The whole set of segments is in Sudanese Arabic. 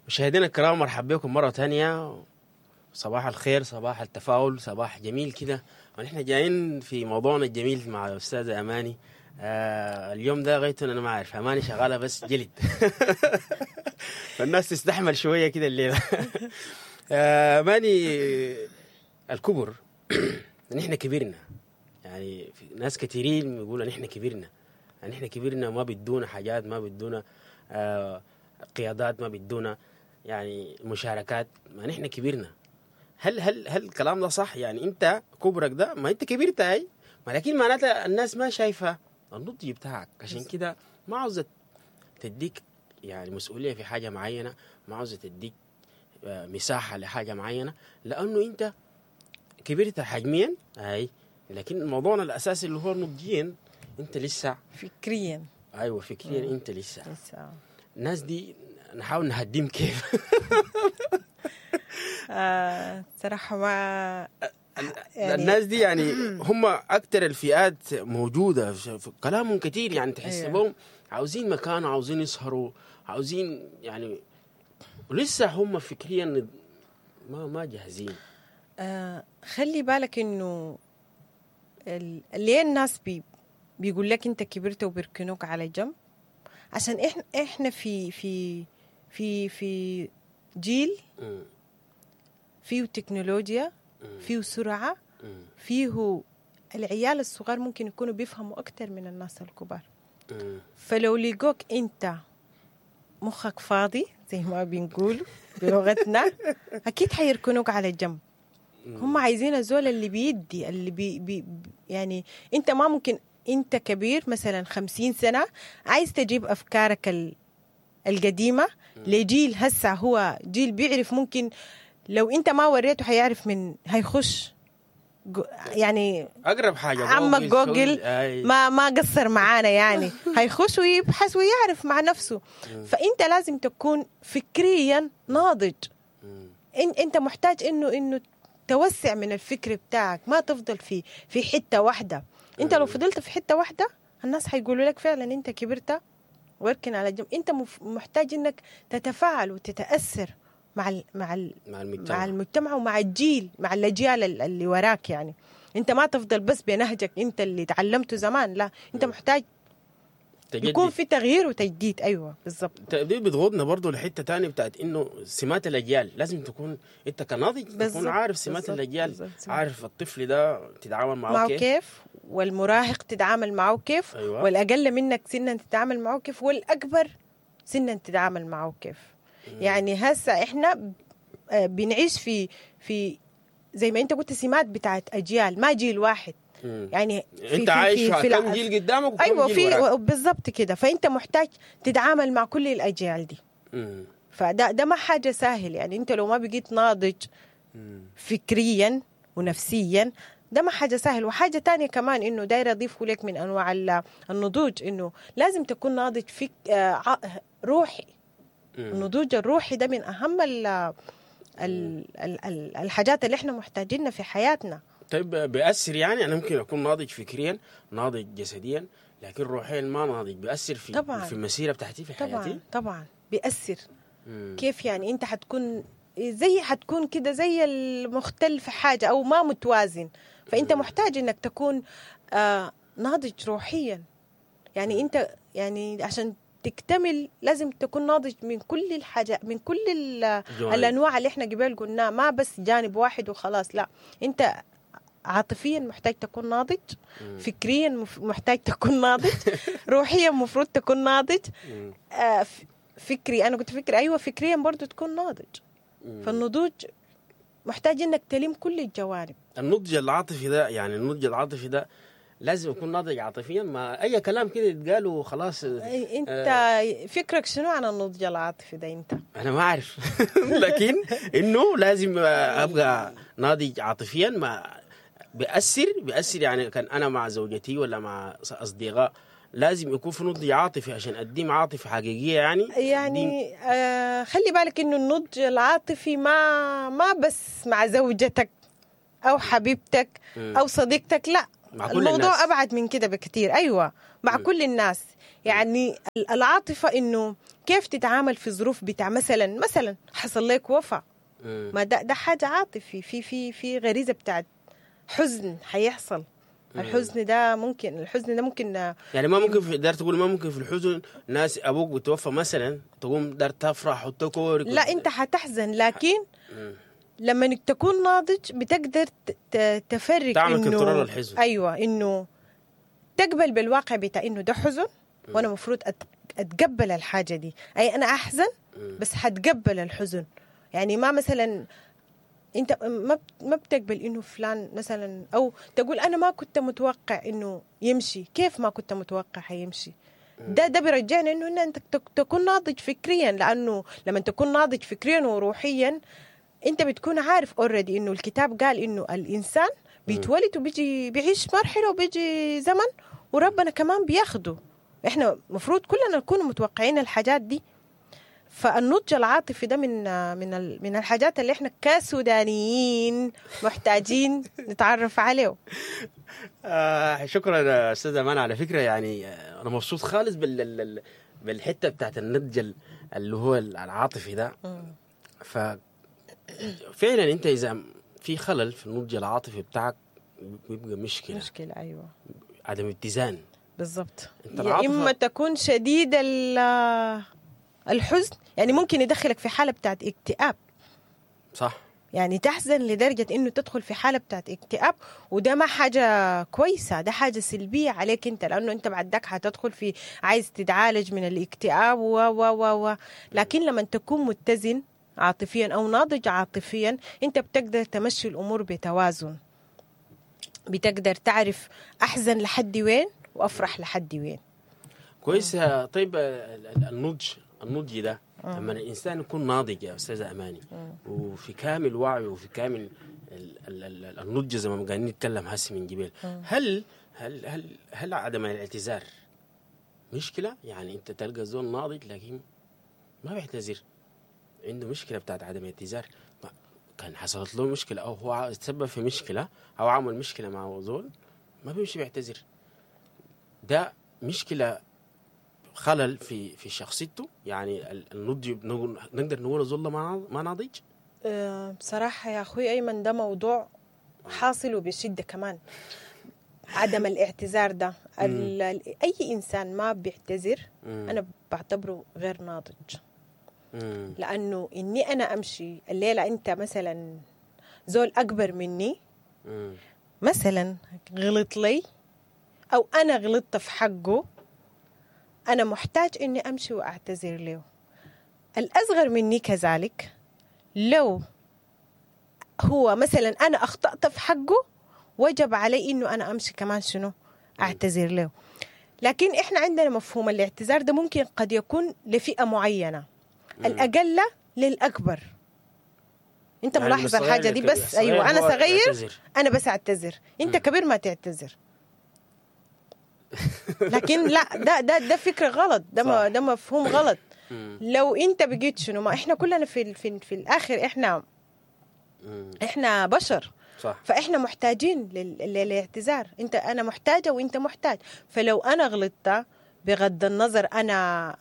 مشاهدينا الكرام، مرحبا بكم مرة تانية. صباح الخير، صباح التفاؤل، صباح جميل كده، ونحن جايين في موضوعنا الجميل مع الأستاذة أماني. اليوم ده غايته أنا ما عارف، أماني شغالة بس جلد فالناس تستحمل شوية كده الليلة. أماني، الكبر، نحن كبرنا، يعني في ناس كثيرين بيقولوا نحن كبرنا، نحن كبرنا، ما بدونا حاجات، ما بدونا قيادات، ما بدونا يعني مشاركات، ما نحن كبرنا. هل الكلام ده صح؟ يعني انت كبرك ده، ما انت كبرت هاي، ما لكن معناتها الناس ما شايفه النضج بتاعك، عشان كده ما عاوزه تديك يعني مسؤولية في حاجة معينة، ما عاوزه تديك مساحة لحاجة معينة، لانه انت كبرت حجميا هاي، لكن موضوعنا الاساسي اللي هو نضجيا انت لسه فكريا. ايوه، فكريا انت لسه. لسه. الناس دي نحاول نهديهم كيف؟ صراحة ما يعني الناس دي يعني هم اكثر الفئات موجودة في كلامهم كثير، يعني تحس بهم عاوزين مكان، عاوزين يسهروا، عاوزين يعني لسه هم فكريا ما جاهزين. خلي بالك انه ليه الناس بيقول لك انت كبرت وبيركنوك على جنب؟ عشان احنا في جيل فيه تكنولوجيا، فيه سرعة، فيه العيال الصغار ممكن يكونوا بيفهموا أكتر من الناس الكبار. فلو لقوك أنت مخك فاضي زي ما بنقول بلغتنا، أكيد حيركنوك على جنب. هم عايزين الزول اللي بيدي، اللي بي بي يعني أنت ما ممكن أنت كبير مثلا 50 سنة عايز تجيب أفكارك القديمة لجيل هسه هو جيل بيعرف، ممكن لو انت ما وريته حيعرف من هيخش يعني اقرب حاجة عمك جوجل ما قصر معانا يعني هيخش ويبحث ويعرف مع نفسه. فانت لازم تكون فكريا ناضج. انت محتاج انه توسع من الفكر بتاعك، ما تفضل في حتة واحدة. انت لو فضلت في حتة واحدة الناس حيقولوا لك فعلا انت كبرت واركن على جنب. انت محتاج انك تتفاعل وتتاثر مع مع المجتمع، مع المجتمع ومع الجيل، مع الاجيال اللي وراك. يعني انت ما تفضل بس بنهجك انت اللي تعلمته زمان، لا، انت محتاج تجدد. يكون في تغيير وتجديد. ايوه بالضبط. دي بتغضنا برضو لحته تانية بتاعت انه سمات الاجيال، لازم تكون انت كناضج تكون عارف سمات الاجيال، عارف الطفل ده تتعامل معه كيف، والمراهق تتعامل معه كيف، أيوة. والاقل منك سنا تتعامل معه كيف، والاكبر سنا تتعامل معه كيف. يعني هسه احنا بنعيش في زي ما انت قلت سمات بتاعت اجيال، ما جيل واحد. يعني في انت عايش في كم جيل قدامك وكم ايوه جيل في وراك. بالضبط كده. فانت محتاج تتعامل مع كل الاجيال دي. فده ده ما حاجة سهل. يعني انت لو ما بقيت ناضج فكريا ونفسيا ده ما حاجة سهل. وحاجه تانية كمان انه دايرة اضيفه لك من انواع النضوج، انه لازم تكون ناضج فك روحي. النضوج الروحي ده من اهم ال ال ال الحاجات اللي احنا محتاجينها في حياتنا. طيب بيأثر يعني؟ انا ممكن اكون ناضج فكريا، ناضج جسديا، لكن روحيا ما ناضج، بيأثر في طبعاً. في المسيرة بتاعتي في حياتي؟ طبعا بيأثر. كيف يعني؟ انت حتكون زي حتكون كده زي المختل في حاجة او ما متوازن. فانت محتاج انك تكون ناضج روحيا. يعني انت يعني عشان تكتمل لازم تكون ناضج من كل الحاجات، من كل الانواع اللي احنا قبل قلناها، ما بس جانب واحد وخلاص. لا، انت عاطفيا محتاج تكون ناضج، فكريا محتاج تكون ناضج، روحيا مفروض تكون ناضج، فكري، انا قلت فكري، ايوه فكريا برضو تكون ناضج. فالنضوج محتاج انك تلم كل الجوانب. النضج العاطفي ده، يعني النضج العاطفي ده لازم يكون ناضج عاطفيا، ما اي كلام كده يتقال وخلاص. انت فكرك شنو عن النضج العاطفي ده انت؟ انا ما اعرف، لكن انه لازم ابقى ناضج عاطفيا. ما بيأثر يعني كان انا مع زوجتي ولا مع اصدقاء لازم يكون في نضج عاطفي عشان اديم عاطفة حقيقية. يعني خلي بالك انه النضج العاطفي ما بس مع زوجتك او حبيبتك او صديقتك، لا، مع كل الموضوع الناس. ابعد من كده بكثير. ايوه، مع كل الناس. يعني العاطفة انه كيف تتعامل في ظروف بتاع مثلا حصل لك وفاة، ما ده حاجة عاطفي، في في في غريزة بتاعت حزن حيحصل. الحزن ده ممكن يعني ما ممكن في دار تقول ما ممكن في الحزن ناس ابوك بتوفى مثلا تقوم دار تفرح وتكورك. لا انت حتحزن، لكن لما تكون ناضج بتقدر تفرق، تعمل control الحزن. ايوه، انه تقبل بالواقع بتاع انه ده حزن وانا مفروض اتقبل الحاجة دي. اي انا احزن بس حتقبل الحزن. يعني ما مثلا انت ما بتقبل انه فلان مثلا، او تقول انا ما كنت متوقع انه يمشي. كيف ما كنت متوقع حيمشي؟ ده بيرجعنا انه انت تكون ناضج فكريا، لانه لما تكون ناضج فكريا وروحيا انت بتكون عارف already انه الكتاب قال انه الانسان بيتولد وبيجي بيعيش مرحلة وبيجي زمن وربنا كمان بياخده. احنا مفروض كلنا نكون متوقعين الحاجات دي. فالنضج العاطفي ده من من من الحاجات اللي احنا كسودانيين محتاجين نتعرف عليه. شكرا استاذه امان. على فكرة يعني انا مبسوط خالص بالحتة بتاعت النضج اللي هو العاطفي ده. ف فعلا انت اذا في خلل في النضج العاطفي بتاعك بيبقى مشكلة. ايوه، عدم اتزان. بالضبط. يا اما تكون شديد الحزن، يعني ممكن يدخلك في حالة بتاعت اكتئاب. صح. يعني تحزن لدرجة انه تدخل في حالة بتاعت اكتئاب، وده ما حاجة كويسة، ده حاجة سلبية عليك انت، لانه انت بعد ذاك حتدخل في عايز تتعالج من الاكتئاب و و و. لكن لما تكون متزن عاطفيا او ناضج عاطفيا، انت بتقدر تمشي الامور بتوازن، بتقدر تعرف احزن لحد وين وافرح لحد وين. كويس. طيب النضج ده لما الانسان يكون ناضج يا استاذه اماني وفي كامل وعيه وفي كامل النضج زي ما قاعدين نتكلم هسه من جبال، هل هل هل هل عدم الاعتذار مشكلة؟ يعني انت تلقى زول ناضج لكن ما بيعتذر، عنده مشكلة بتاعت عدم الاعتذار، كان حصلت له مشكلة او هو تسبب في مشكلة او عمل مشكلة مع زول ما بيمشي بيعتذر. ده مشكلة، خلل في شخصيته. يعني النضج نقدر نقول زول ما ناضج. بصراحة يا اخوي ايمن ده موضوع حاصل وبشدة كمان، عدم الاعتذار ده. اي انسان ما بيعتذر انا بعتبره غير ناضج. لانه اني انا امشي الليلة، انت مثلا زول اكبر مني مثلا غلط لي او انا غلطت في حقه، أنا محتاج إني أمشي وأعتذر له. الأصغر مني كذلك، لو هو مثلا أنا أخطأت في حقه وجب علي إنه أنا أمشي كمان شنو أعتذر له. لكن إحنا عندنا مفهوم الاعتذار ده ممكن قد يكون لفئة معينة، الأقل للأكبر. أنت يعني ملاحظ الحاجة دي؟ بس أيوة أنا صغير أنا بس أعتذر، أنت كبير ما تعتذر. لكن لا، ده فكرة غلط، ده مفهوم غلط. لو انت بقيت شنو، ما احنا كلنا في في في الاخر احنا بشر. صح. فاحنا محتاجين للاعتذار. انت انا محتاجة وانت محتاج. فلو انا غلطت بغض النظر، انا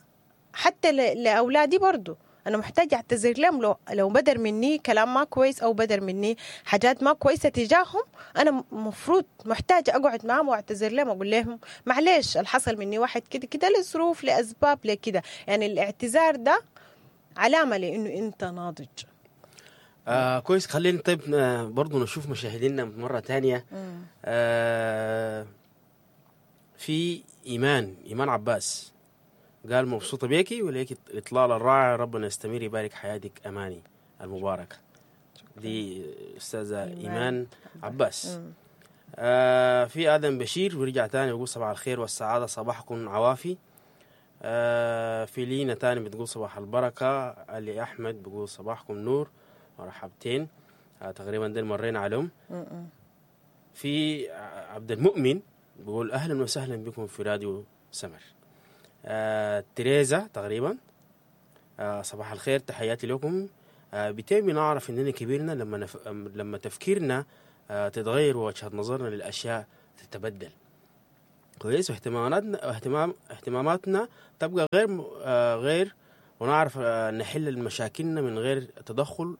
حتى لاولادي برضو انا محتاجة اعتذر لهم. لو بدر مني كلام ما كويس او بدر مني حاجات ما كويسة تجاههم، انا مفروض محتاجة اقعد معهم واعتذر لهم، اقول لهم معلش الحصل مني واحد كده كده لظروف لاسباب لكده. يعني الاعتذار ده علامة لانه انت ناضج. كويس. خلينا طيب برضو نشوف مشاهدينا مرة تانية. في إيمان عباس قال مبسوطة بيكي وليك إطلالة الرائع، ربنا يستمر يبارك حياتك أماني المباركة. دي أستاذة إيمان عباس. في آدم بشير ورجع تاني ويقول صباح الخير والسعادة، صباحكم عوافي. في لينا تاني بتقول صباح البركة. علي أحمد بيقول صباحكم نور مرحبتين. تقريبا دول مرينا عليهم. في عبد المؤمن بيقول أهلا وسهلا بكم في راديو سمر. تريزا تقريبا صباح الخير، تحياتي لكم. بتيمي نعرف اننا كبرنا لما تفكيرنا تتغير ووجهة نظرنا للاشياء تتبدل. كويس. واهتماماتنا اهتماماتنا تبقى غير ونعرف نحل مشاكلنا من غير تدخل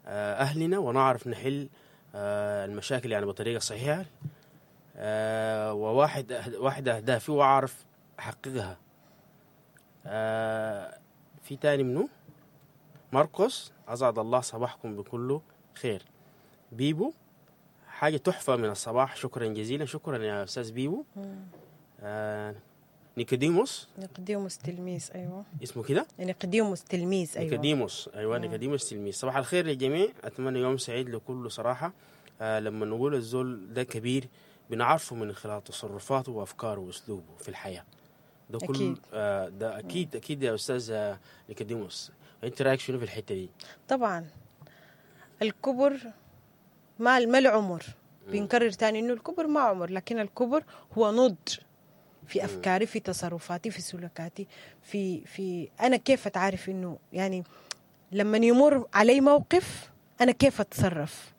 اهلنا، ونعرف نحل المشاكل يعني بطريقة صحيحه. وواحد واحدة اهدافي واعرف احققها. في تاني منو؟ ماركوس، اسعد الله صباحكم بكل خير. بيبو، حاجة تحفة من الصباح، شكرا جزيلا. شكرا يا استاذ بيبو. نيكوديموس، نيقوديموس تلميذ، ايوه اسمه كده، نيقوديموس تلميذ، ايوه نيكوديموس، ايوه نيكوديموس تلميذ. صباح الخير للجميع، اتمنى يوم سعيد لكل صراحة. لما نقول الزول ده كبير بنعرفه من خلال تصرفاته وافكاره واسلوبه في الحياة. ده كل أكيد. ده اكيد اكيد يا استاذ نيكوديموس. انت رايك شنو في الحتة دي؟ طبعا الكبر ما العمر، بنكرر تاني انه الكبر ما عمر، لكن الكبر هو نضج في افكاري، في تصرفاتي، في سلوكاتي، في انا كيف اتعرف انه يعني لما يمر علي موقف انا كيف اتصرف.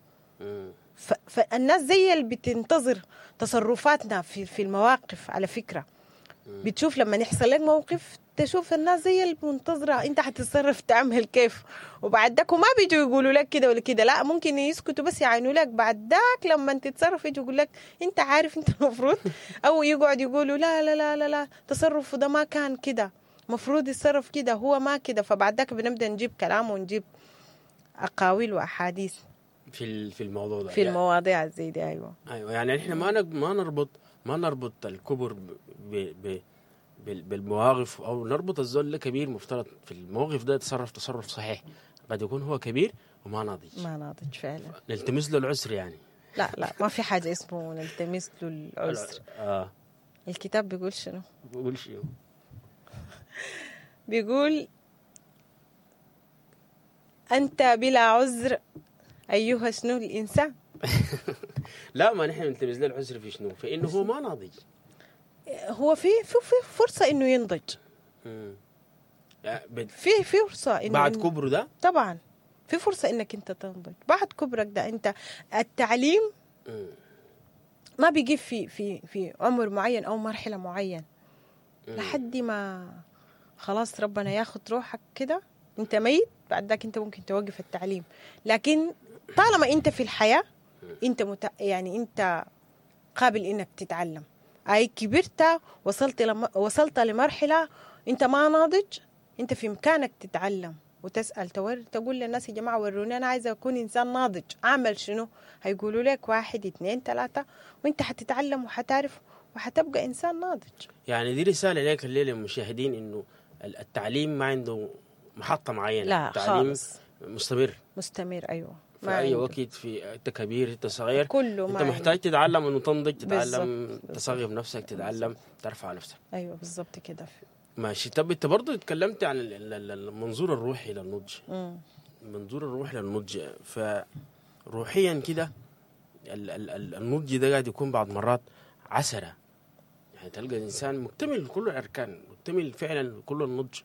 فالناس زي اللي بتنتظر تصرفاتنا في المواقف. على فكرة بتشوف لما يحصل لك موقف تشوف الناس زي المنتظرة انت حتتصرف تعمل كيف، وبعد ذاك وما بيجوا يقولوا لك كده ولا كده، لا ممكن يسكتوا بس يعينوا لك. بعد ذاك لما تتصرف يجوا يقول لك انت عارف انت المفروض، او يقعد يقولوا لا لا لا لا لا تصرفه ده ما كان كده، مفروض يتصرف كده، هو ما كده. فبعد ذاك بنبدا نجيب كلام ونجيب اقاويل واحاديث في الموضوع ده، في المواضيع زي دي. ايوه ايوه، يعني احنا ما نربط الكبر ب بالمواقف، او نربط الزول كبير مفترض في الموقف ده يتصرف تصرف صحيح. قد يكون هو كبير وما ناضج، ما ناضج فعلا، نلتمس له العسر يعني. لا لا، ما في حاجة اسمه نلتمس له العسر. الكتاب بيقول شنو؟ بيقول شنو؟ بيقول انت بلا عذر ايها شنو الانسان. لا، ما نحن نلتمس له العذر في شنو؟ في انه هو ما ناضج. هو في فرصة إنه ينضج. في فرصة إنه بعد كبره ده؟ طبعا في فرصة إنك أنت تنضج بعد كبرك ده. أنت التعليم ما بيجي في في في عمر معين أو مرحلة معين، لحد ما خلاص ربنا ياخد روحك كده أنت ميت، بعد ذاك أنت ممكن توقف التعليم. لكن طالما أنت في الحياة أنت يعني أنت قابل إنك تتعلم. أي كبرت وصلت لمرحلة أنت ما ناضج، أنت في إمكانك تتعلم وتسأل، تقول للناس يا جماعة وروني أنا عايزة أكون إنسان ناضج، أعمل شنو؟ هيقولوا لك 1 2 3، وأنت حتتعلم وحتعرف وحتبقى إنسان ناضج. يعني دي رسالة لك الليلة للمشاهدين، إنه التعليم ما عنده محطة معينة. لا التعليم خالص، مستمر مستمر. أيوة، في أي وقت، في أنت كبير أنت صغير، كله أنت محتاج تتعلم إنه تنضج، تتعلم تصغر نفسك، تتعلم ترفع نفسك. أيوة بالضبط كده. ماشي. طب أنت برضه اتكلمت عن المنظور الروحي للنضج. المنظور الروحي للنضج، فروحيا كده النضج ده قاعد يكون بعض مرات عسرة. يعني تلقى الإنسان مكتمل كل الأركان، مكتمل فعلا كل النضج،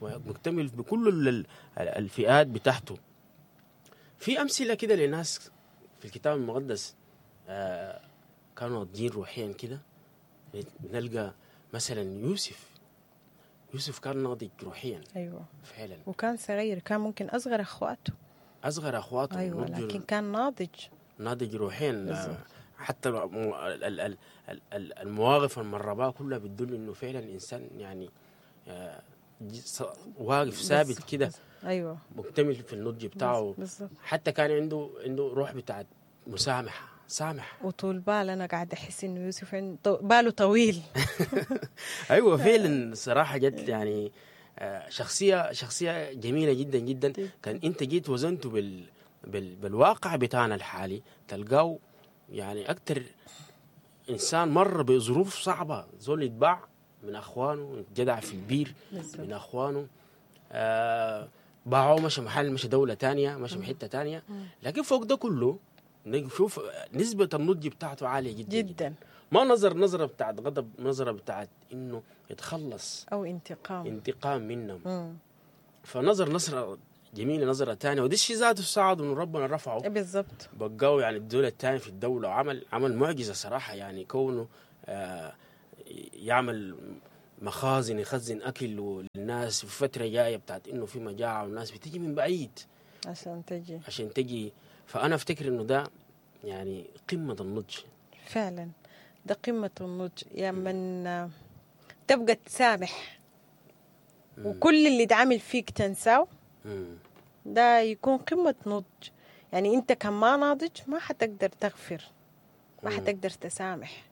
ومكتمل بكل الفئات بتاعته. في أمثلة كده لناس في الكتاب المقدس كانوا ناضجين روحيا كده. نلقى مثلا يوسف كان ناضج روحيا. أيوة فعلا، وكان صغير، كان ممكن أصغر أخواته. أيوة، لكن كان ناضج روحيا. حتى المواقف المرباه كلها بتدل إنه فعلا إنسان يعني واقف ثابت كده. ايوه، مكتمل في النضج بتاعه. بالزبط. حتى كان عنده روح بتاعت مسامحة، سامح وطول بال. انا قاعد احس انه يوسف عنده باله طويل. ايوه فعلا، صراحة جت يعني شخصية جميلة جدا جدا. كان انت جيت وزنته بالواقع بتاعنا الحالي، تلقاه يعني اكثر انسان مر بظروف صعبة، زول يتباع من اخوانه، يتجدع في البير من اخوانه، باعوه، مشى محل، مشى دولة تانية، مشى بحتة تانية. لكن فوق ده كله نشوف نسبة النضج بتاعته عالية جدا جدا, جداً. ما نظر نظرة بتاعت غضب، نظرة بتاعت إنه يتخلص أو انتقام منهم. فنظر نظرة جميلة، نظرة تانية، وده الشيء ذاته ساعد إنه ربنا رفعه بالضبط، بقاه يعني الدولة التانية في الدولة، وعمل عمل معجزة صراحة. يعني كونه يعمل مخازن يخزن اكل للناس في فترة جاية بتاعت انه في مجاعة والناس بتيجي من بعيد عشان تجي. فانا افتكر انه ده يعني قمة النضج. فعلا ده قمة النضج، يا من تبقى تسامح وكل اللي اتعمل فيك تنساه، ده يكون قمة نضج. يعني انت كان ما ناضج ما حتقدر تغفر، ما حتقدر تسامح.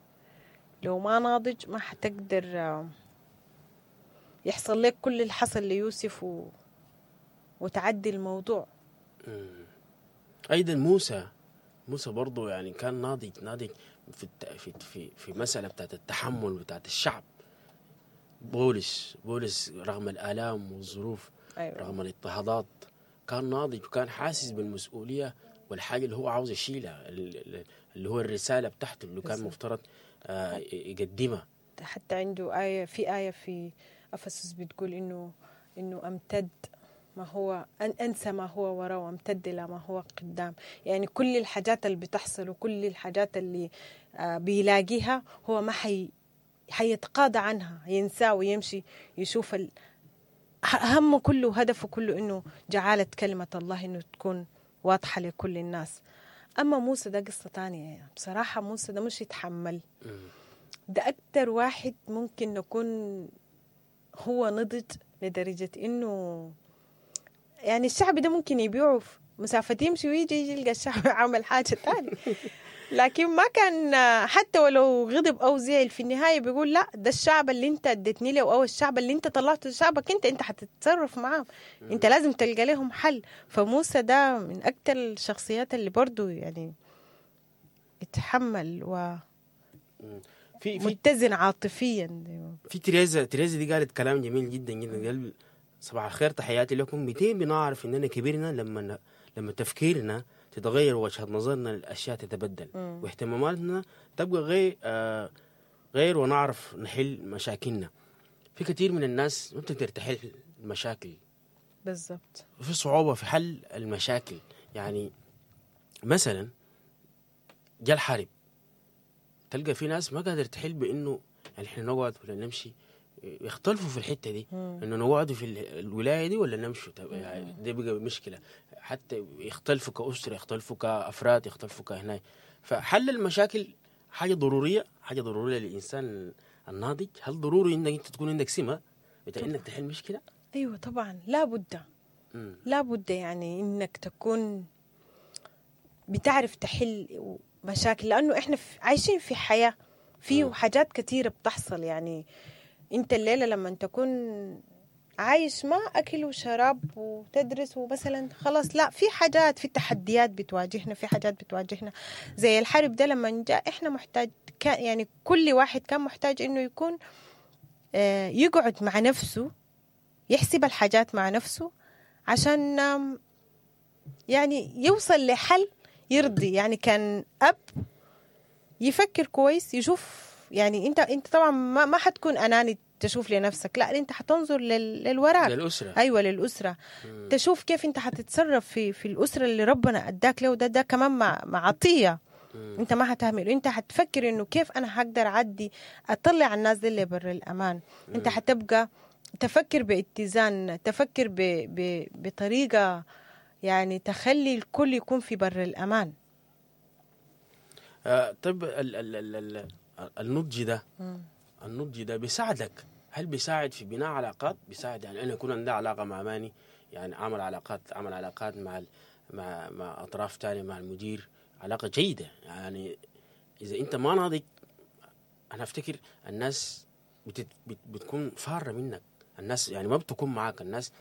لو ما ناضج ما حتقدر يحصل لك كل اللي حصل ليوسف وتعدي الموضوع. ايضا موسى برضو يعني كان ناضج في في في في مسألة بتاعت التحمل بتاعت الشعب. بولس رغم الآلام والظروف، أيوة. رغم الاضطهادات، كان ناضج وكان حاسس بالمسؤولية والحاجة اللي هو عاوز يشيلها، اللي هو الرسالة بتاعته اللي كان مفترض يقدمها. حتى عنده آية، في آية في أفسس بتقول إنه أمتد ما هو أنسى ما هو وراء وامتد إلى ما هو قدام. يعني كل الحاجات اللي بتحصل وكل الحاجات اللي بيلاقيها هو ما حيتقاضى عنها، ينسى ويمشي يشوف همه كله، هدفه كله إنه جعالة كلمة الله إنه تكون واضحة لكل الناس. أما موسى ده قصة تانية يعني. بصراحة موسى ده مش يتحمل، ده أكتر واحد ممكن نكون هو نضج لدرجة إنه يعني الشعب ده ممكن يبيعه في مسافة، يمشي ويجي يلقى الشعب عمل حاجة تانية. لكن ما كان حتى ولو غضب أو زعل في النهاية بيقول لا، ده الشعب اللي انت اديتني له أو الشعب اللي انت طلعته شعبك انت حتتصرف معاه، انت لازم تلقى لهم حل. فموسى ده من أكتر الشخصيات اللي برضو يعني يتحمل و في متزن عاطفيا. في تريزا دي قالت كلام جميل جدا جدا، قال صباح الخير تحياتي لكم، 200 بنعرف اننا كبرنا لما تفكيرنا تتغير وجهة نظرنا للاشياء تتبدل، واهتماماتنا تبقى غير ونعرف نحل مشاكلنا. في كثير من الناس ما بتقدر تحل المشاكل. بالضبط، في صعوبة في حل المشاكل. يعني مثلا جاء الحرب، تلقى في ناس ما قادر تحل بانه يعني احنا نقعد ولا نمشي، يختلفوا في الحتة دي، انه نقعد في الولاية دي ولا نمشي. يعني دي بقى مشكلة، حتى يختلفوا كاسره، يختلفوا كافراد، يختلفوا كهنا. فحل المشاكل حاجة ضرورية، حاجة ضرورية للانسان الناضج. هل ضروري انك انت تكون عندك سمه بتاع انك تحل مشكلة؟ ايوه طبعا، لابد لابد يعني انك تكون بتعرف تحل مشاكل، لانه احنا عايشين في حياة فيه حاجات كثيرة بتحصل. يعني انت الليلة لما تكون عايش ما اكل وشراب وتدرس ومثلا خلاص، لا، في حاجات، في تحديات بتواجهنا، في حاجات بتواجهنا زي الحرب ده لما جاء احنا محتاج يعني كل واحد كان محتاج انه يكون يقعد مع نفسه، يحسب الحاجات مع نفسه عشان يعني يوصل لحل يرضي. يعني كان اب يفكر كويس، يشوف يعني انت طبعا ما حتكون اناني تشوف لنفسك، لا، انت حتنظر للوراك، للاسرة. ايوه للاسرة. تشوف كيف انت حتتصرف في الاسرة اللي ربنا اداك له، ده كمان مع عطية. انت ما حتهمل، انت حتفكر انه كيف انا حقدر اعدي اطلع الناس دي اللي بر الامان. انت حتبقى تفكر باتزان، تفكر بطريقة يعني تخلي الكل يكون في بر الامان. طيب النضج ده، النضج ده بيساعدك. هل بيساعد في بناء علاقات؟ بيساعد يعني انا يكون عندي علاقة مع ماني، يعني عمل علاقات مع مع اطراف ثانية، مع المدير، علاقة جيدة. يعني اذا انت ما ناضج، انا افتكر الناس بتكون فاره منك، الناس يعني ما بتكون معاك، الناس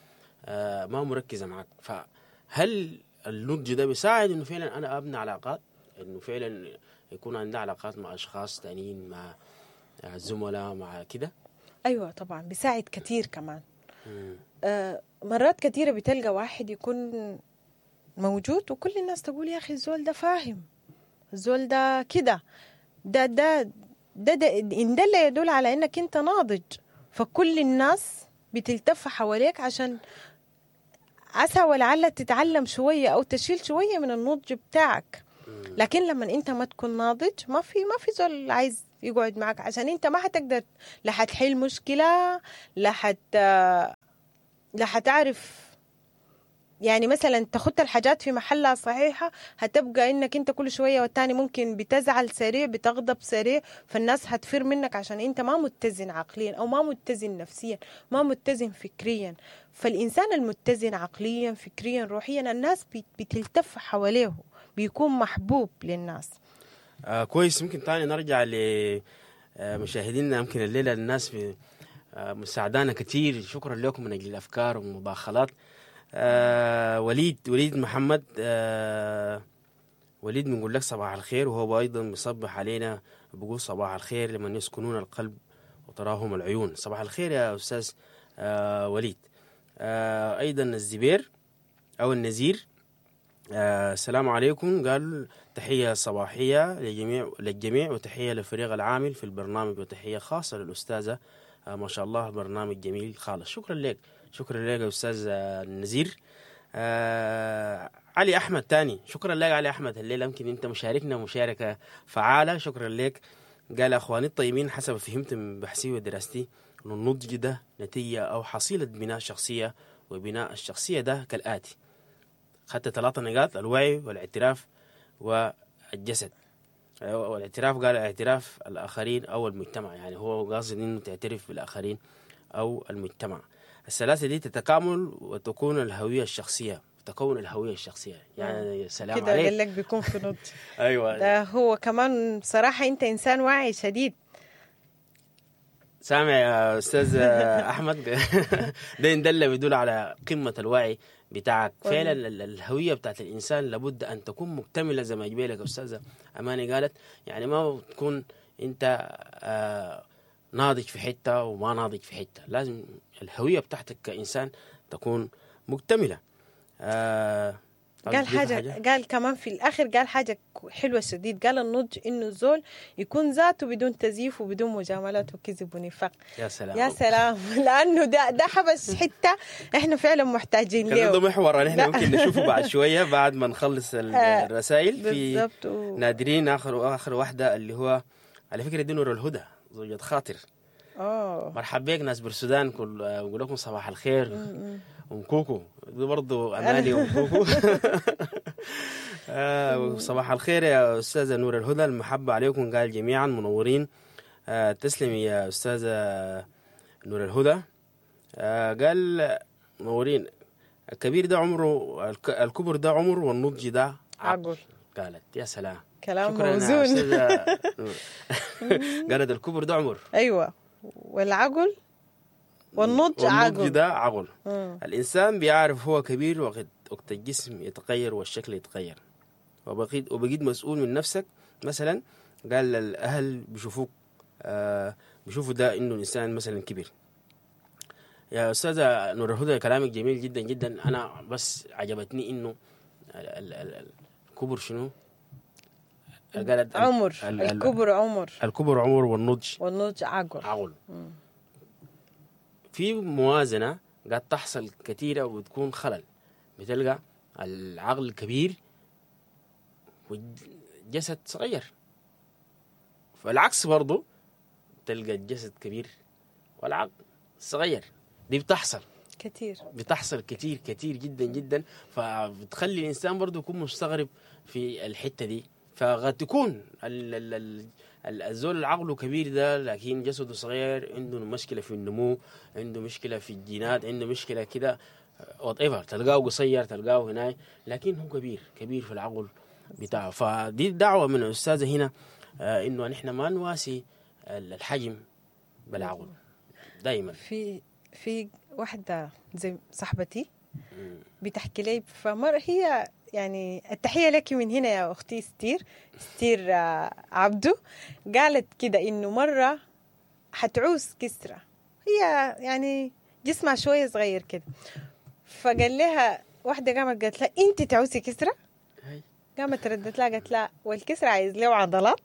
ما مركزه معاك. فهل النضج ده بيساعد انه فعلا انا ابني علاقات، انه فعلا يكون عندي علاقات مع اشخاص تانيين، مع الزملاء، مع كده؟ ايوه طبعا بيساعد كثير كمان. مرات كثيرة بتلقى واحد يكون موجود وكل الناس تقول يا اخي الزول ده فاهم، الزول ده كده، ده ده ده, ده إن ده اللي يدل على انك انت ناضج. فكل الناس بتلتف حواليك عشان عسى ولعل تتعلم شوية او تشيل شوية من النضج بتاعك. لكن لما انت ما تكون ناضج ما في زول عايز يقعد معك، عشان انت ما حتقدر، لا حتحل مشكلة، لا حتعرف يعني مثلا تخط الحاجات في محلها صحيحة. هتبقى انك انت كل شوية والتاني ممكن بتزعل سريع، بتغضب سريع، فالناس هتفر منك عشان انت ما متزن عقليا او ما متزن نفسيا، ما متزن فكريا. فالانسان المتزن عقليا فكريا روحيا الناس بتلتف حواليه، بيكون محبوب للناس. كويس. ممكن تاني نرجع لمشاهدينا. يمكن الليلة الناس مساعدانا كتير، شكرا لكم من اجل الافكار والمداخلات. وليد محمد، وليد بنقول لك صباح الخير، وهو ايضا بيصبح علينا بيقول صباح الخير لمن يسكنون القلب وتراهم العيون. صباح الخير يا استاذ وليد. ايضا الزبير او النزير، السلام عليكم، قال تحية صباحية للجميع وتحية للفريق العامل في البرنامج وتحية خاصة للأستاذة، ما شاء الله برنامج جميل خالص. شكرا لك، شكرا لك يا أستاذ النزير. علي أحمد تاني، شكرا لك علي أحمد، الليلة يمكن أنت مشاركنا مشاركة فعالة، شكرا لك. قال أخواني الطيبين، حسب فهمت من بحثي ودراستي أن النضج ده نتيجة أو حصيلة بناء شخصية، وبناء الشخصية ده كالآتي: خدت 3 نقاط، الوعي والاعتراف والجسد. والاعتراف قال اعتراف الآخرين أو المجتمع، يعني هو قاصد إنه تعترف بالآخرين أو المجتمع. الثلاثة دي تتكامل وتكون الهوية الشخصية، تكون الهوية الشخصية. يعني سلام كده عليك، قال لك بيكون في نضج. أيوة، ده هو كمان بصراحة أنت إنسان واعي شديد. سامع يا أستاذ أحمد؟ ده يندل بيدل على قمة الوعي بتاعك. فعلا الهوية بتاعت الإنسان لابد أن تكون مكتملة زي ما جبالك أستاذة أماني قالت، يعني ما تكون أنت ناضج في حتة وما ناضج في حتة، لازم الهوية بتاعتك كإنسان تكون مكتملة. قال حاجة، قال كمان في الآخر قال حاجة حلوة شديد، قال النضج إنه الزول يكون ذاته بدون تزييف وبدون مجاملات وكذب ونفاق. يا سلام، يا سلام، لأنه ده حبس حتة إحنا فعلا محتاجين له. ده محور نحن ممكن نشوفه بعد شوية بعد ما نخلص الرسائل. في نادرين آخر واحدة اللي هو على فكرة دي نور الهدى زوجة خاطر. مرحبا بك ناس بالسودان، كل بقول لكم صباح الخير. ام كوكو دي برضه اماني ام كوكو. صباح الخير يا استاذه نور الهدى، المحبة عليكم، قال جميعا منورين. تسلمي يا استاذه نور الهدى. قال منورين، الكبير ده عمره، الكبر ده عمر والنضج ده عقل. قالت يا سلام، كلام موزون. قالت الكبر ده عمر، ايوه، والعقل والنضج عقل، والنضج ده عقل. الإنسان بيعرف هو كبير وقت الجسم يتغير والشكل يتغير، وبقيت مسؤول من نفسك. مثلا قال الأهل بيشوفوك، بيشوفوا ده إنه الإنسان مثلا كبير. يا أستاذة نور الهدى كلامك جميل جدا جدا. أنا بس عجبتني إنه الكبر شنو؟ قالت عمر، الكبر عمر، الكبر عمر والنضج عقل. في موازنة قد تحصل كثيرة وبتكون خلل، بتلقى العقل كبير والجسد صغير، فالعكس برضو تلقى الجسد كبير والعقل صغير. دي بتحصل كثير، بتحصل كثير كثير جدا جدا، فبتخلي الإنسان برضو يكون مستغرب في الحتة دي. فقد تكون الزول العقل كبير ده لكن جسده صغير، عنده مشكلة في النمو، عنده مشكلة في الجينات، عنده مشكلة كده whatever، تلقاه قصير تلقاه هناك، لكن هو كبير كبير في العقل بتاعه. فدي الدعوة من الأستاذة هنا، إنه نحن ما نواسي الحجم بالعقل دايما. في واحدة زي صاحبتي بتحكي لي، فمرة هي يعني التحية لك من هنا يا أختي ستير عبدو، قالت كده إنه مرة حتعوز كسرة، هي يعني جسمها شوية صغير كده، فقال لها واحدة قامت قالت لها أنت تعوزي كسرة؟ قامت ردت لها قالت لها والكسرة عايز له عضلات.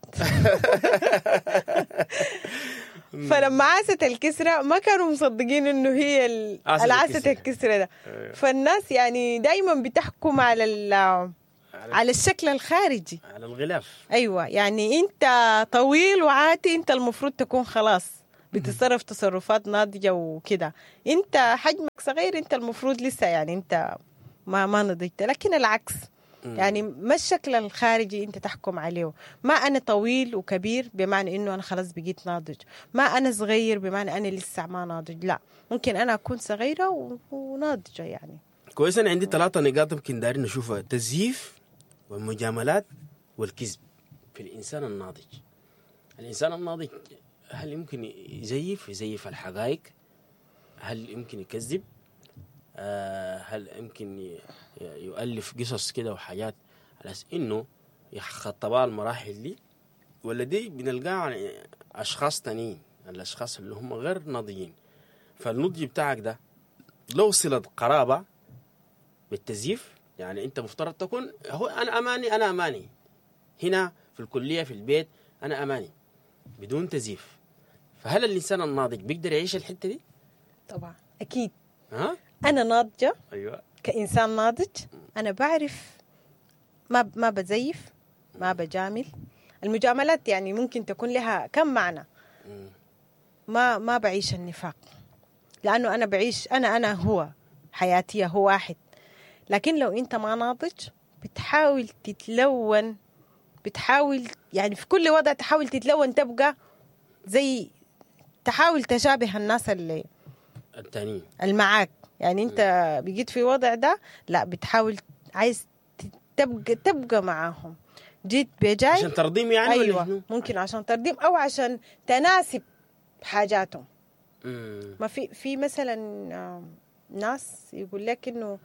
فلما عاست الكسرة ما كانوا مصدقين انه هي عاست الكسرة ده. فالناس يعني دايما بتحكم على على الشكل الخارجي، على الغلاف. ايوه، يعني انت طويل وعاتي، انت المفروض تكون خلاص بتتصرف تصرفات ناضجة وكده. انت حجمك صغير، انت المفروض لسه يعني انت ما نضجت. لكن العكس، يعني ما الشكل الخارجي انت تحكم عليه. ما انا طويل وكبير بمعنى انه انا خلاص بقيت ناضج، ما انا صغير بمعنى انا لسه ما ناضج. لا، ممكن انا اكون صغيرة وناضجه يعني. كويس. انا عندي 3 نقاط يمكن دارين نشوفها: التزييف والمجاملات والكذب في الانسان الناضج. الانسان الناضج هل يمكن يزيف الحقائق؟ هل يمكن يكذب؟ هل يمكن يؤلف قصص كده وحاجات على اساس انه يخطبها المراحل دي؟ ولا دي بنلقاها عن اشخاص تانيين، الاشخاص اللي هم غير ناضجين؟ فالنضج بتاعك ده لو صلة قرابة بالتزييف، يعني انت مفترض تكون هو انا اماني، انا اماني هنا في الكلية، في البيت، انا اماني بدون تزييف. فهل الانسان الناضج بيقدر يعيش الحتة دي؟ طبعا اكيد. ها؟ انا ناضجة. ايوه، كانسان ناضج انا بعرف ما بزيف، ما بجامل. المجاملات يعني ممكن تكون لها كم معنى. ما بعيش النفاق، لانه انا بعيش انا هو حياتي هو واحد. لكن لو انت ما ناضج بتحاول تتلون، بتحاول يعني في كل وضع تحاول تتلون، تبقى زي، تحاول تشابه الناس اللي التانيين المعاك. يعني انت بقيت في وضع ده، لا بتحاول عايز تبقى معاهم. جيت بجاي عشان ترضيم يعني. ايوه، ممكن عشان ترضيم او عشان تناسب حاجاتهم. ما في مثلا ناس يقول لك انه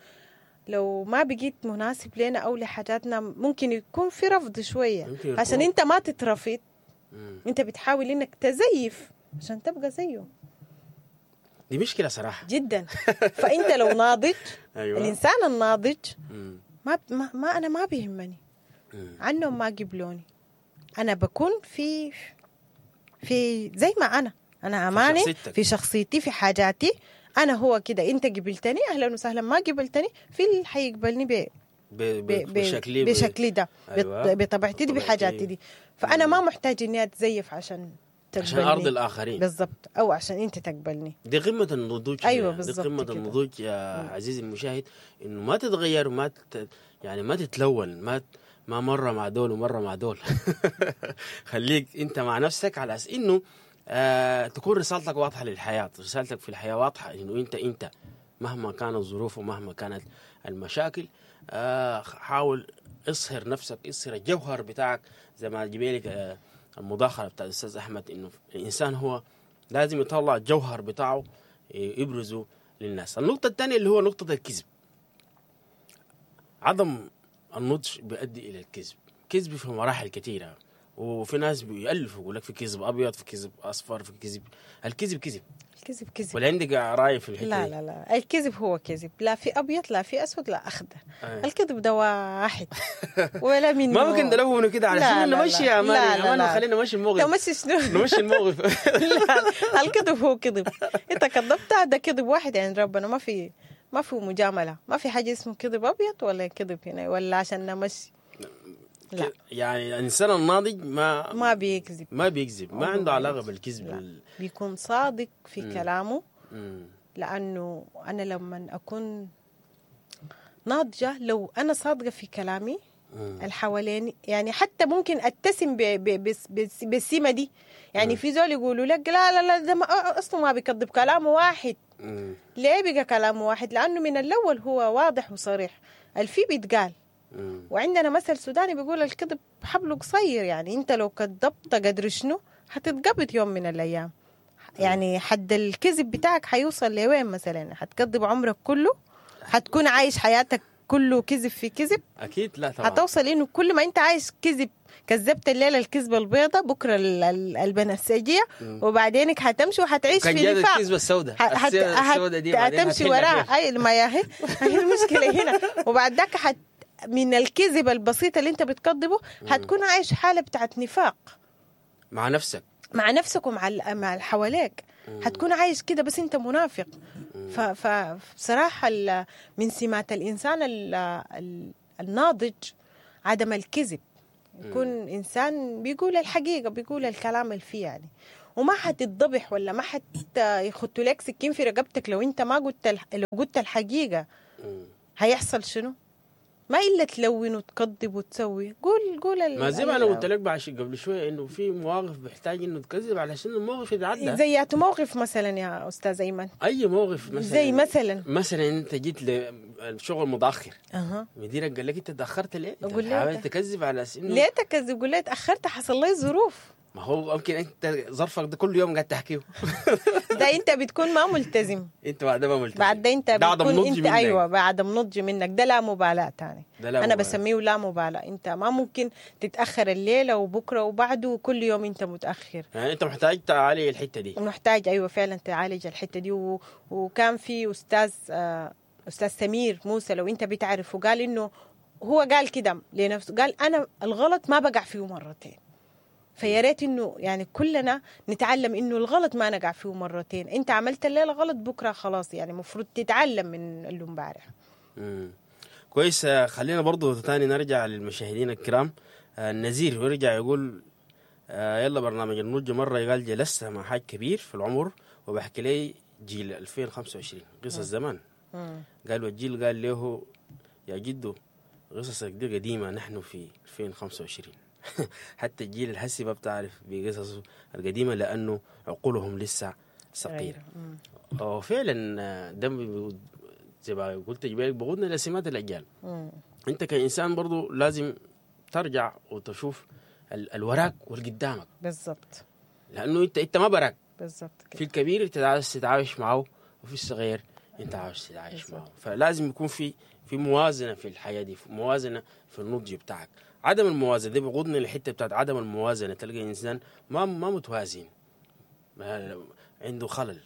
لو ما بقيت مناسب لنا او لحاجاتنا ممكن يكون في رفض شوية. عشان انت ما تترفض، انت بتحاول انك تزيف عشان تبقى زيه. دي مشكلة صراحة جدا. فانت لو ناضج، أيوة. الانسان الناضج ما, ما, ما انا ما بيهمني عنهم ما قبلوني، انا بكون في زي ما انا اماني في شخصيتي، في حاجاتي، انا هو كده. انت قبلتني اهلا وسهلا، ما قبلتني في اللي حيقبلني بشكلي، بشكلي ده، أيوة. بطبيعتي دي، بحاجاتي دي. فانا ما محتاج اني اتزيف عشان تقبلني، عشان ارضي الاخرين بالضبط، او عشان انت تقبلني. دي قمة النضوج. ايوه بالضبط، دي قمة النضوج يا عزيزي المشاهد، انه ما تتغير، ما يعني ما تتلون، ما مرة مع دول ومرة مع دول. خليك انت مع نفسك على اساس انه تكون رسالتك واضحة للحياة، رسالتك في الحياة واضحة، انه انت مهما كانت الظروف ومهما كانت المشاكل، حاول اصهر نفسك، اصهر الجوهر بتاعك. زي ما جبالك المداخلة بتاع الاستاذ احمد، انه الانسان هو لازم يطلع الجوهر بتاعه يبرزه للناس. النقطة الثانية اللي هو نقطة الكذب. عدم النضج بيؤدي الى الكذب، كذب في مراحل كثيرة، وفي ناس بيألفوا يقول لك في كذب ابيض، في كذب اصفر، في كذب. الكذب كذب، الكذب كذب. ولا عندك راي في الحتة؟ لا لا لا، الكذب هو كذب، لا في ابيض لا في اسود لا اخضر. الكذب ده واحد ولا منه. ما ممكن نلونه كده علشان نمشي يا اماني، خلينا نمشي الموقف. تمشي شنو؟ نمشي الموقف. لا، الكذب هو كذب، انت كذبت ده كذب واحد عند ربنا، ما في مجاملة، ما في حاجة اسمه كذب ابيض ولا كذب هنا ولا عشان نمشي. لا، يعني الانسان الناضج ما بيكذب، ما بيكذب، ما عنده علاقة بالكذب، بيكون صادق في كلامه. لانه انا لما اكون ناضجة، لو انا صادقة في كلامي الحوالين، يعني حتى ممكن اتسم بالسمه دي. يعني في زول يقولوا لك لا لا لا، ده اصلا ما بيكذب، كلامه واحد. ليه بقى كلامه واحد؟ لانه من الاول هو واضح وصريح، الفي بيتقال. وعندنا مثل سوداني بيقول الكذب حبلة قصير، يعني انت لو كذبت قدر شنو حتتقبض يوم من الايام. يعني حد الكذب بتاعك حيوصل لوين مثلا؟ حتكذب عمرك كله؟ حتكون عايش حياتك كله كذب في كذب؟ اكيد لا طبعا. حتوصل انه كل ما انت عايش كذب، كذبت الليلة الكذبة البيضاء، بكره البنفسجية، وبعدينك حتمشي وحتعيش في نفاق. الكذبة السوداء، السوداء دي هتمشي وراها. اي ما هي المشكلة هنا. وبعد ذاك من الكذب البسيط اللي انت بتكذبه هتكون عايش حاله بتاعت نفاق مع نفسك، مع نفسك ومع مع اللي حواليك. هتكون عايش كده بس انت منافق. فبصراحة من سمات الانسان الناضج عدم الكذب، يكون انسان بيقول الحقيقة، بيقول الكلام اللي فيه يعني، وما حتتضبح ولا ما حت يختوا لك سكين في رقبتك لو انت ما قلت لو قلت الحقيقة. هيحصل شنو؟ ما الا تلون وتكذب وتسوي، قول قول ما زي ما انا قلت لك قبل شوية انه في مواقف بيحتاج انه تكذب علشان الموقف يتعدى. زي ياتو موقف مثلا يا استاذ ايمن؟ اي موقف مثلا؟ زي مثلا؟ مثلا انت جيت للشغل متاخر، مديرك قال لك انت تاخرت ليه؟ انت قول له حاول تكذب على اساس انه ليه تكذب؟ قول له اتاخرت، حصل لي ظروف. ما هو ممكن انت ظرفك ده كل يوم قاعد تحكيه. ده انت بتكون ما ملتزم. انت بعد ما ملتزم. بعد ده انت ده عدم بتكون نضج انت منك. ايوه، بعدم نضج منك، ده لا مبالاة تاني. ده لا انا مبالاة. بسميه لا مبالاه. انت ما ممكن تتاخر الليلة وبكره وبعده وكل يوم انت متاخر. يعني انت محتاج تعالج الحتة دي. محتاج، ايوه فعلا تعالج الحتة دي. وكان في استاذ استاذ سمير موسى، لو انت بتعرفه، قال انه هو قال كده لنفسه، قال انا الغلط ما بقع فيه مرتين. فيا ريت انه يعني كلنا نتعلم انه الغلط ما نقع فيه مرتين. انت عملت الليلة غلط، بكره خلاص، يعني المفروض تتعلم من اللي امبارح. كويس. خلينا برضو تاني نرجع للمشاهدين الكرام. النزير ويرجع يقول يلا برنامج النضج. مرة قال جلست مع حاج كبير في العمر وبحكي لي جيل 2025 قصص زمان. قال والجيل قال له يا جدو قصصك دي قديمة، نحن في 2025، حتى الجيل الهسي ما بتعرف بقصصه القديمة لأنه عقولهم لسه صغيرة. وفعلا ده زي ما قلت جبالك بقودنا لسمات الأجيال. انت كإنسان برضو لازم ترجع وتشوف الوراك والقدامك. لانه انت ما براك. بالضبط في كده. الكبير انت عاوز تتعايش معه، وفي الصغير انت عاوز تتعايش معه، فلازم يكون في موازنه في الحياة دي، في موازنه في النضج بتاعك. عدم الموازنة دي بيقودنا للحتة بتاعت عدم الموازنه. تلقى انسان ما متوازن، ما عنده خلل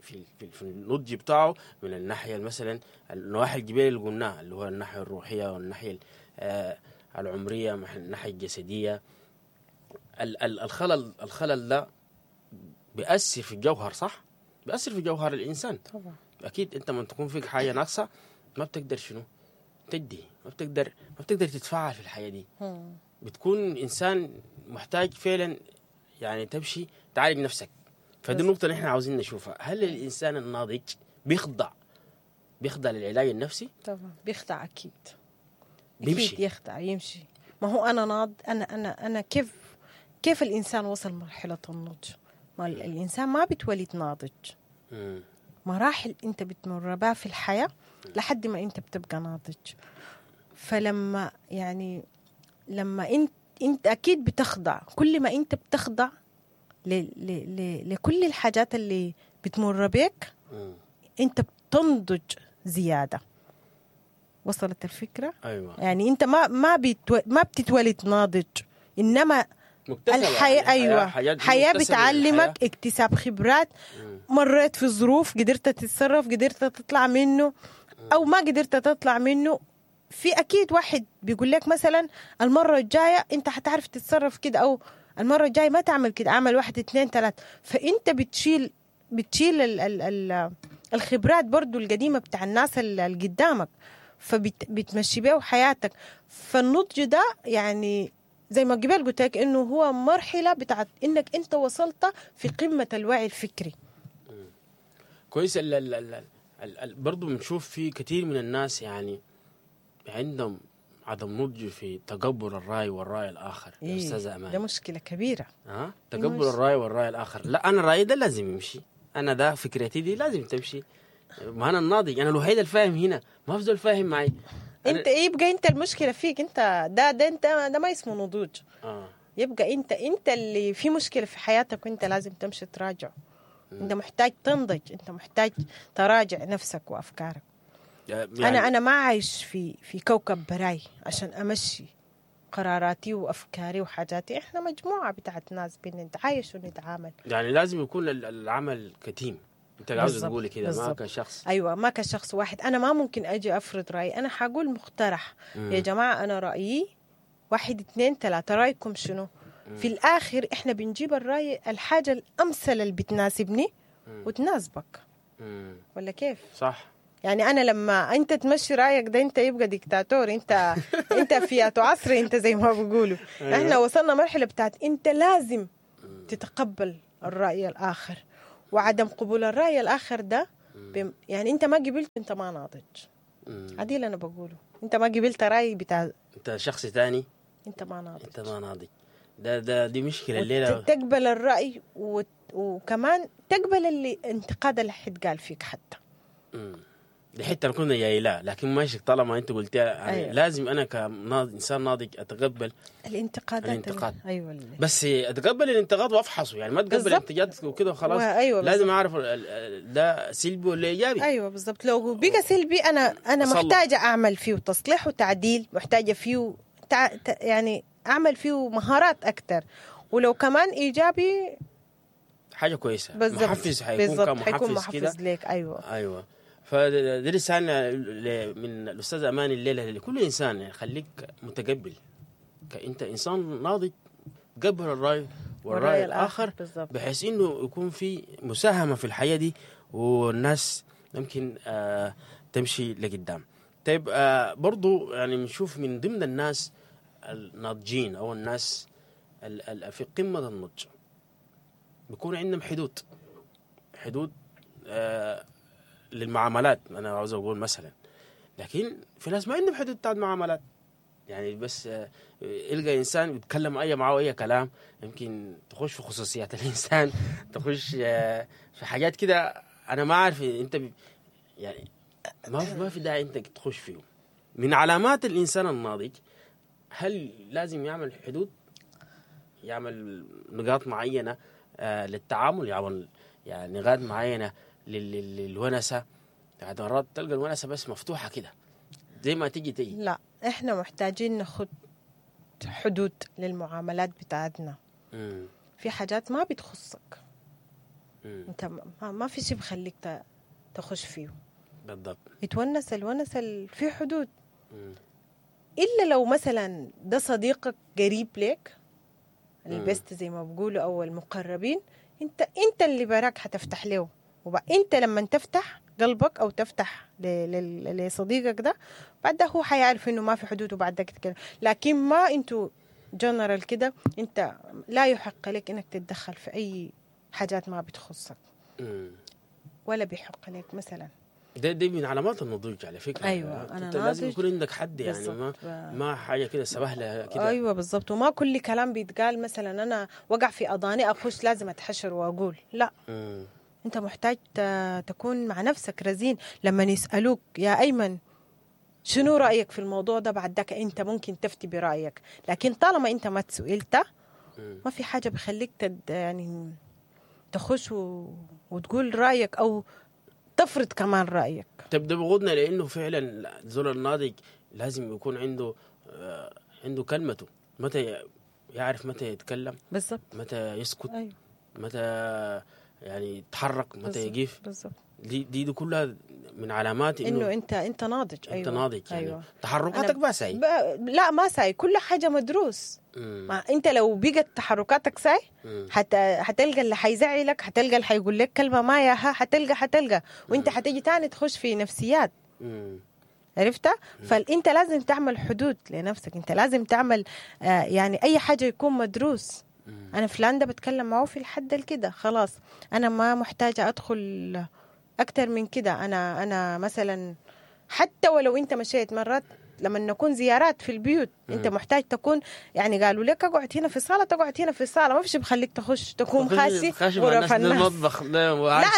في النضج بتاعه من الناحية مثلا النواحي الجبال اللي قلناها، اللي هو الناحية الروحية والناحية العمريه، الناحية الجسديه. الخلل ده بيأثر في الجوهر، صح؟ بيأثر في جوهر الإنسان. طبعا. أكيد أنت لما تكون فيك حاجة ناقصة ما بتقدر شنو؟ تدي، ما بتقدر تتفاعل في الحياة دي. بتكون إنسان محتاج فعلا يعني تمشي تعالج نفسك. فدي النقطة اللي احنا عاوزين نشوفها، هل الإنسان الناضج بيخضع للعلاج النفسي؟ طبعا بيخضع، اكيد. بيمشي. اكيد يخضع، يمشي. ما هو انا ناض انا انا انا كيف الانسان وصل مرحلة النضج؟ ما الانسان ما بيتولد ناضج. مراحل انت بتمر بها في الحياة لحد ما انت بتبقى ناضج. فلما يعني لما انت اكيد بتخضع، كل ما انت بتخضع ل ل ل لكل الحاجات اللي بتمر بك انت بتنضج زياده. وصلت الفكره؟ ايوه. يعني انت ما بتتولد ناضج، انما مكتسبة. الحياة يعني ايوه، حاجات حياة مكتسبة من بتعلمك الحياة. اكتساب خبرات. مريت في ظروف، قدرت تتصرف، قدرت تطلع منه او ما قدرت تطلع منه. في اكيد واحد بيقول لك مثلا المرة الجاية انت حتعرف تتصرف كده، او المرة الجاية ما تعمل كده، اعمل واحد اتنين تلاتة. فانت بتشيل ال ال ال الخبرات برضو القديمة بتاع الناس اللي قدامك، فبتمشي بيه حياتك. فالنضج ده يعني زي ما قبل قلت لك انه هو مرحلة بتاعت انك انت وصلت في قمة الوعي الفكري. كويس. ال ال ال ال ال برضو بنشوف في كثير من الناس يعني عندهم عدم نضج في تقبل الراي والراي الاخر يا استاذه ده امان. مشكلة كبيره. ها، تقبل الراي والراي الاخر. لا، انا رايي ده لازم يمشي، انا ده فكرتي دي لازم تمشي، ما انا الناضج، انا الوحيد الفاهم هنا، ما في زول فاهم معي. انت إيه، يبقى انت المشكلة فيك انت. ده انت ده ما اسمه نضوج. يبقى انت اللي في مشكلة في حياتك، وانت لازم تمشي تراجع. انت محتاج تنضج، انت محتاج تراجع نفسك وافكارك. يعني انا ما عايش في كوكب براي عشان امشي قراراتي وافكاري وحاجاتي. احنا مجموعة بتاعت ناس بنتعايش ونتعامل. يعني لازم يكون العمل ك team، انت عاوز تقولي كده، ما كشخص. ايوه، ما كشخص واحد. انا ما ممكن اجي افرض رايي. انا حقول مقترح. يا جماعه، انا رايي واحد اتنين تلاتة، رايكم شنو؟ في الاخر احنا بنجيب الراي، الحاجة الامثل اللي بتناسبني وتناسبك. ولا كيف؟ صح. يعني انا لما انت تمشي رايك ده انت يبقى ديكتاتور، انت في عصر، انت زي ما بيقولوا. أيوة. احنا وصلنا مرحلة بتاعت انت لازم تتقبل الراي الاخر، وعدم قبول الراي الاخر ده يعني انت ما قبلت، انت ما ناضج. عديل انا بقوله، انت ما قبلت راي بتاع انت شخص ثاني، انت ما ناضج. انت ما ناضج. ده ده دي مشكلة الليلة. تقبل الراي وكمان تقبل اللي انتقاد اللي حيتقال فيك حتى. دي حتة كنا جاي لها، لكن ماشي طالما انت قلتها يعني. أيوة. لازم انا كإنسان ناضج اتقبل الانتقادات. الانتقاد. ايوه، بس اتقبل الانتقاد وافحصه، يعني ما اتقبل الانتقاد وكده وخلاص. أيوة، لازم اعرف ده سلبي ولا ايجابي. ايوه بالضبط. لو بقى سلبي انا محتاجه اعمل فيه تصليح وتعديل، محتاجه فيه يعني اعمل فيه مهارات اكثر. ولو كمان ايجابي حاجة كويسة، بالضبط. محفز، حيكون كمحفز، حيكون محفز لك. ايوه ايوه. فدي رسالة من الاستاذ اماني الليلة لكل انسان، يعني خليك متقبل، انت انسان ناضج، قبل الراي والراي الاخر، بحيث انه يكون في مساهمة في الحياة دي والناس ممكن تمشي لقدام. طيب برضو يعني بنشوف من ضمن الناس الناضجين او الناس في قمة النضج بيكون عندهم حدود للمعاملات. انا عاوز اقول مثلا، لكن في ناس ما عندهم حدود بتاعت معاملات، يعني بس يلقى انسان بيتكلم اي معاه اي كلام، يمكن تخش في خصوصيات الانسان، تخش في حاجات كده انا ما عارف انت يعني ما في داعي انت تخش فيه. من علامات الانسان الناضج هل لازم يعمل حدود، يعمل نقاط معينة للتعامل، يعمل يعني نقاط معينة للونسه. يعني مرات تلقى الونسه بس مفتوحة كده زي ما تيجي. لا، احنا محتاجين ناخد حدود للمعاملات بتاعتنا. في حاجات ما بتخصك. انت ما في شيء بخليك تخش فيه. بالضبط. يتونس الونس في حدود. الا لو مثلا ده صديقك قريب لك، البست زي ما بقولوا، او المقربين، انت اللي براك حتفتح له. وانت لما تفتح قلبك او تفتح لصديقك ده، بعد ده هو حيعرف انه ما في حدود، وبعد ده كده. لكن ما انتوا جنرال كده، انت لا يحق لك انك تتدخل في اي حاجات ما بتخصك. ولا بيحق لك مثلا. ده من علامات النضوج على فكرة. ايوه، انا انت لازم يكون عندك حد، يعني ما حاجة كده سبهله كده. ايوه بالضبط. وما كل كلام بيتقال مثلا انا وقع في اضاني اخش لازم اتحشر واقول لا. انت محتاج تكون مع نفسك رزين. لما يسالوك يا ايمن شنو رايك في الموضوع ده، بعد ذاك انت ممكن تفتي برايك. لكن طالما انت ما تسئلت، ما في حاجة بخليك يعني تخش وتقول رايك او تفرض كمان رايك. طب ده بغضنا، لانه فعلا زول الناضج لازم يكون عنده كلمته، متى يعرف متى يتكلم، بالضبط، متى يسكت، أيوه. متى يعني يتحرك، متى يقف. بالضبط. دي كلها من علامات انه انت ناضج. ايوه، انت ناضج يعني. أيوة. تحركاتك ما ساي. لا ما ساي، كل حاجة مدروس. ما انت لو بقت تحركاتك ساي حتلقى اللي حيزعلك، حتلقى اللي حيقول لك كلمة ما ياها، حتلقى وانت حتيجي تاني تخش في نفسيات. عرفتها؟ فانت لازم تعمل حدود لنفسك، انت لازم تعمل يعني اي حاجة يكون مدروس. انا فلان ده بتكلم معه في الحد كده خلاص، انا ما محتاجه ادخل اكتر من كده. انا مثلا حتى ولو انت مشيت مرات لما نكون زيارات في البيوت، انت محتاج تكون يعني قالوا لك اقعد هنا في الصاله، تقعد هنا في الصاله، ما فيش بخليك تخش تكون خاشي غرف الناس. المطبخ لا،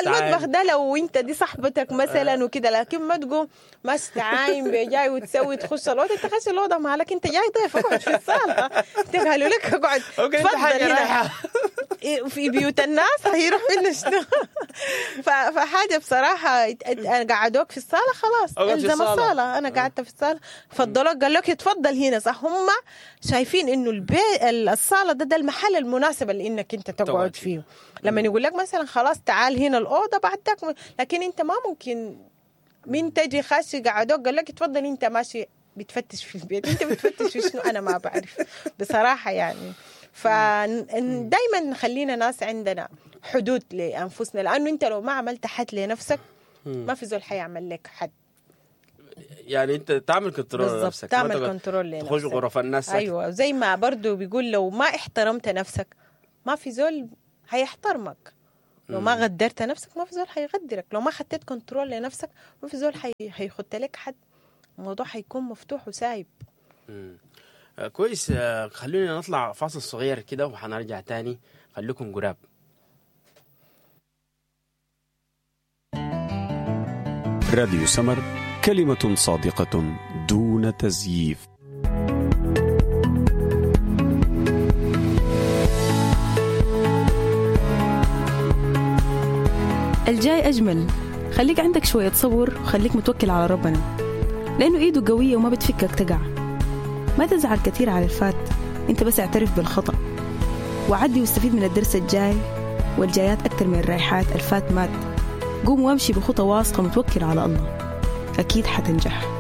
المطبخ ده لو انت دي صاحبتك مثلا وكده، لكن ما تقوم ماشي تعاين بجاي وتسوي تخش الاوضة، انت خش الاوضة مالك، انت جاي ضيف، اقعد في الصاله. انت قالوا لك اقعد تفضل هنا في بيوت الناس، هيروح منا شنو؟ فحاجه بصراحة قعدوك في الصاله خلاص، الزم الصاله. انا قعدت في الصاله، فضلوك قال لك اتفضل هنا، صح؟ هم شايفين انه البيت الصاله ده المحل المناسب اللي انك انت تقعد فيه. لما يقول لك مثلا خلاص تعال هنا الاوضة بعدك، لكن انت ما ممكن من تجي خاشي قعدوك قال لك اتفضل، انت ماشي بتفتش في البيت، انت بتفتش في شنو؟ انا ما بعرف بصراحة يعني. فدايما خلينا ناس عندنا حدود لانفسنا، لانه انت لو ما عملت حد لنفسك ما في زول حيعمل لك حد. يعني انت تعمل control بالضبط، لنفسك، ما تعمل تقعد control لنفسك. تخش غرف الناس ساكت. ايوه، زي ما برضو بيقول لو ما احترمت نفسك ما في زول هيحترمك. لو ما غدرت نفسك ما في زول هيغدرك. لو ما خطيت control لنفسك ما في زول هيخط لك حد. الموضوع هيكون مفتوح وسايب. كويس. خلونا نطلع فاصل صغير كده وحنرجع تاني، خليكم قراب. راديو سمر، كلمة صادقة دون تزييف. الجاي أجمل. خليك عندك شوية صبر وخليك متوكل على ربنا، لأنه إيده قوية وما بتفكك تقع. ما تزعل كثير على الفات، أنت بس اعترف بالخطأ وعدي واستفيد من الدرس الجاي والجايات أكثر من الرايحات. الفات مات، قوم وامشي بخطى واثقة متوكل على الله، أكيد حتنجح.